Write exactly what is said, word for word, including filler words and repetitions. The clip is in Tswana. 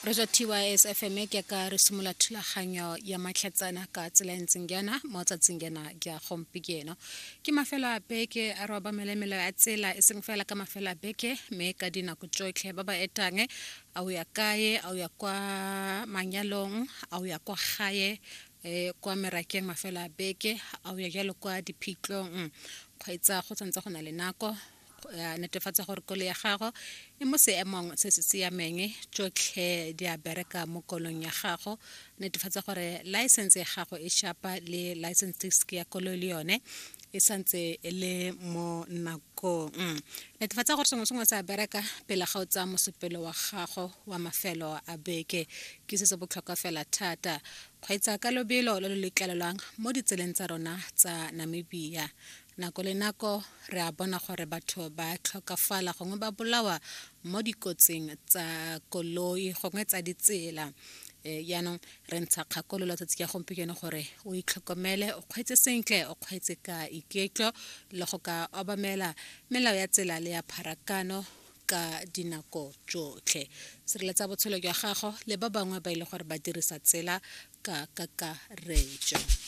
Re tswa T Y S F M ke ka re simolola thulaganyo ya matlhatsana ka tsela e ntseng jaana mo tsatsing jaana ja gompieno. Ke mafelo a beke, a re obamele melao ya tsela, e seng fela ka mafelo a beke mme ka dinako tsotlhe. Ba ba etang, a o ya kae, a o ya kwa manyalong, a o ya kwa gae, eh, kwa merakeng mafelo a beke, a o ya jalo kwa diphitlhong, kgweetsa go tshwanetse go na le nako. Ya netefatsa gore koloi ya gago e mo seemong se se siameng, tsotlhe di a bereka mo kolong ya gago. Netefatsa gore license ya gago e shapa le license disc ya koloi le yone e santse e le mo nakong. Netefatsa gore sengwe sengwe se a bereka pele ga o tsaya mosepelo wa gago wa mafelo a beke, ke se se botlhokwa fela thata. Kgweetsa ka lobelo lo lo letlelelwang mo ditseleng tsa rona tsa Namibia. Nako le nako re a bona gore batho ba tlhokafala gongwe ba bolawa mo dikotsing tsa koloi gongwe tsa ditsela. um jaanong re ntsha kgakololo tsatsi ya gompieno gore o itlhokomele, o kgweetse sentle, o kgweetse ka iketlo le go ka obamela melao ya tsela le ya pharakano ka dinako tsotlhe. Sireletsa botshelo jwa gago le ba bangwe ba ile gore ba dirisa tsela ka kakaretso.